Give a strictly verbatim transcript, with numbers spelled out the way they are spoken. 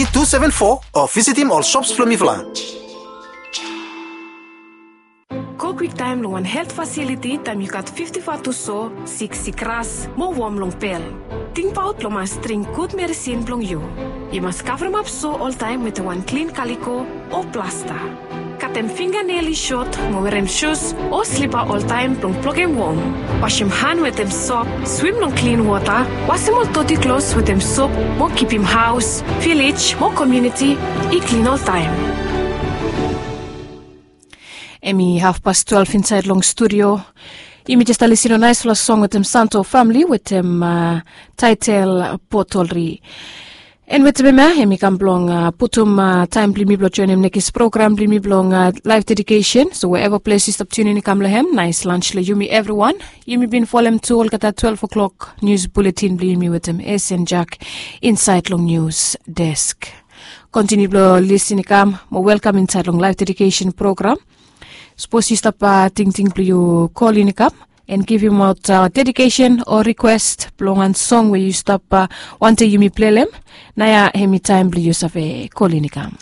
two seven four o visitim ol shops blong mifala. Go kwiktaem long wan helt fasiliti taem yu gat fifti-faiv tu so, siksik ras, mo wom long pel. Tingbaot blong mas dring gud medisin blong yu. Yu mas kavremap so oltaem wetem wan klin kaliko o plasta. Katem finganel i sot mo werem sus o slipa oltaem blong blokem wom. Wasem han wetem sop, swim long klin wota, wasem ol doti klos wetem sop mo kipim haos, vilej mo komuniti i klin oltaem. Em i hafpas twelve insaed long studio. Yumi jes stap lisin long naesfala song wetem Santo famili wetem taetel Potolri. En wetem em ya em i kam blong putum taem blong yumi blong joenem nekis program blong yumi blong laef dedikesen. So wherever ples yu stap tunin i kam long hem, naes lans long yumi evriwan. Yumi bin folem tu olgeta twelve o'clock nius buletin blong yumi wetem Esen Jak insaed long nius desk. Kontiniu blong lisin i kam mo welkam insaed long laef dedikesen program. Sapos yu stap tingting blong yu kol in i kam en givimaot dedikesen o rikwes blong wan song we yu stap wantem yumi plelem, nao ya hem i taem blong yu save kol in i kam.